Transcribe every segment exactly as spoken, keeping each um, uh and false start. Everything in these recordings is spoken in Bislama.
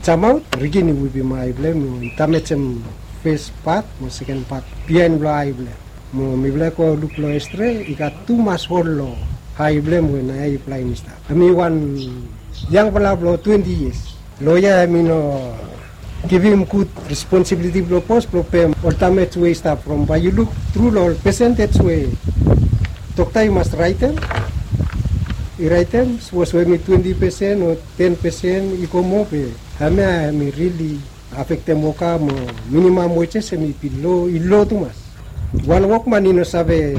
Jamaot rigin i wipim ai blong hem, i damejem fes pat mo seken pat biaen blong ai blong hem. Mo mifala i go luk long X-ray, i gat tumas hol long ai blong hem we naoia i blaen i stap. Hem i wan yangfala blong twenti yias. Loea hem i no givim gud responsibiliti blong bos blong pem ol damej we i stap from bae yu luk tru long ol pesentej we dokta i mas raetem, i raetem sapos we hem i twenti pesen o ten pesen i go moa be hemia hem i rili afektem woka mo minimam wejes hem i bin lo, i lo tumas. Wan wokman i no save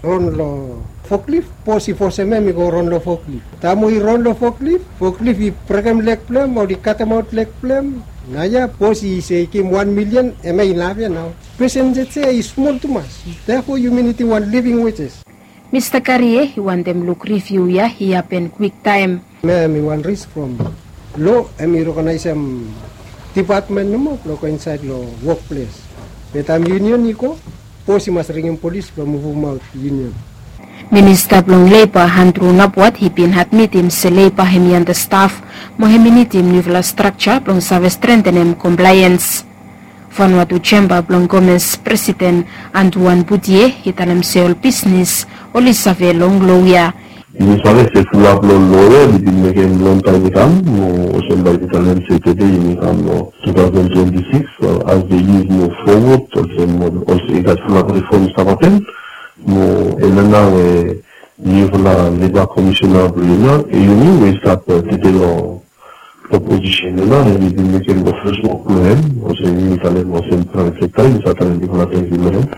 ron long foklif, bos i fosem hem i go ron long foklif. Taem we i ron long foklif, foklif i brekem leg blong hem, oli katemaot leg blong hem. Naoia bos i se i givim wan milian, hemia inaf ya nao. Pesentej ya i smol tumas. Therefore yumi nidim wan living wages. Mista Karie i wantem luk riviu ya i hapen kwiktaem. Hemia hem i wan risk from lo hem i rekonaesem dipatmen nomo blong go insaed long wokples. Be taem yunion i go, bos i mas ringim polis blong muvumaot yunion. Minista blong Leiba Andrew Nabwat i bin admitim se leiba hem i andastaf mo hem i nidim niufala strakja blong save strentenem komplaens. Vanuatu Jemba blong Komes presiden Antuan Butie i talem se ol bisnes oli save long lo ya. Yumi save se fulap long lo ya i bin mekem longtaem i kam, mo olsem bae yumi talem se tede yumi kam long tu taosen twenti sikis, as de yia i muv fowod olsem, olsem i gat fulap rifom i stap hapen. Mo hemia nao we niufala leba komisena blong yumi we i stap tede long opozisen ya nao hem i bin mekem long fes wok blong hem, olsem yumi talem olsem praevet sekta yumi save talem bigfala tangkiu long hem.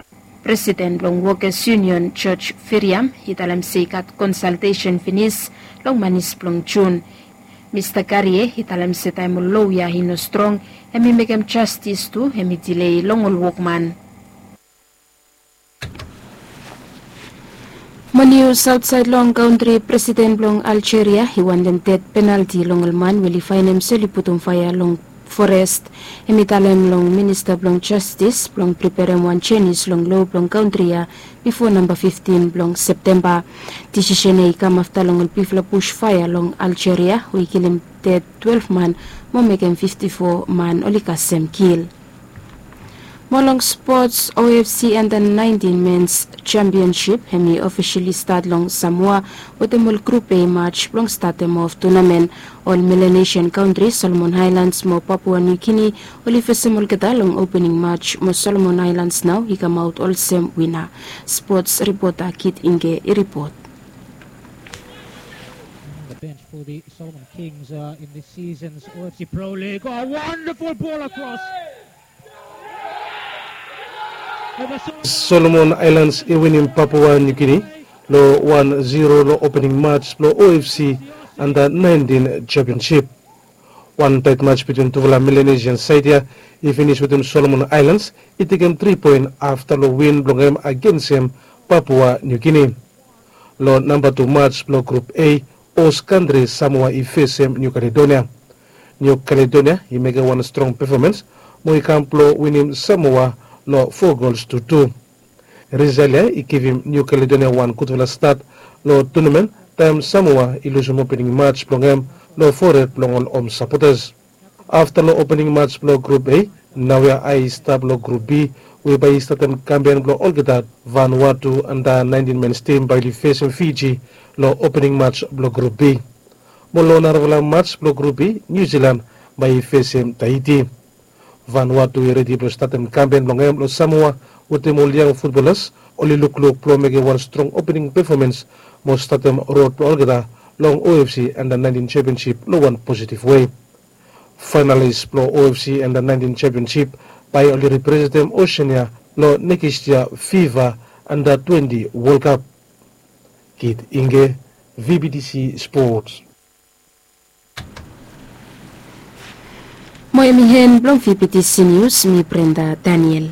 Presiden blong Wokes Yunion George Feriam i talem se i gat konsaltesen finis long manis blong Jun. Mista Karie i talem se taem ol lo ya i no strong, hem i mekem jastis tu hem i dilei long ol wokman. Mo nius aotsaed long kantri, presiden blong Aljeria i wantem ded penalti long ol man we oli faenem se oli putum faea long forest. Hem i talem long minista blong jastis blong priperem wan jenis long lo blong kantri ya bifo namba fiftin blong Septemba. Disisen ya i kam afta long ol bigfala bus faea long Aljeria we i kilim ded twelef man mo mekem fifti fo man oli kasem kil. Mo long spots, O F C Under naentin Mens Jampionsip hem i ofisali stat long Samoa wetem ol grup A maj blong statem of tunamen. Ol Melanesian kantri, Solomon Aelans mo Papua Niu Gini oli fesem olgeta long opening maj mo Solomon Aelans nao i kamaot olsem wina. Spots ripota Kit Inge i ripot. The bench for the Solomon Kings uh, in this season's O F C Pro League. Oh, a wonderful ball across. Solomon Aelans i winim Papua Niu Gini long wan zero long opening maj blong O F C Anda naentin Jampionsip. Wan taet maj bitwin tufala Melanesian saed ya i finis wetem Solomon Aelans i tekem tri poen afta long win blong hem agensem Papua Niu Gini. Long namba tu maj blong grup A, os kantri Samoa i fesem Niu Kaledonia. Niu Kaledonia i mekem wan strong pefomans mo i kam blong winim Samoa long fo gols tu tu. Risael ya i givim Niu Kaledonia wan gudfala stat long tunamen taem Samoa i lusum opening maj blong hem long fored blong ol hom sapotas. Afta long opening maj blong grup A, naoia ai i stap long grup B we bae i statem kampen blong olgeta. Vanuatu Anda naentin Mens tim bae oli fesem Fiji long opening maj blong grup B. Mo long narafala maj blong grup B, Niu Silan bae i fesem Tahiti. Vanuatu i redi blong statem kampen blong hem long Samoa wetem ol yang futbolas oli lukluk blong mekem wan strong opening pefomans mo statem rod blong olgeta long O F C Anda naentin Jampionsip long wan positiv wei. Faenalis blong O F C Anda naentin Jampionsip bae oli representem Oseania long nekis yia FIFA Anda twenti Wol Kap. Kit Inge, V B T C Sports. Mo hem i hen blong V B T C Nius, mi Brenda Daniel.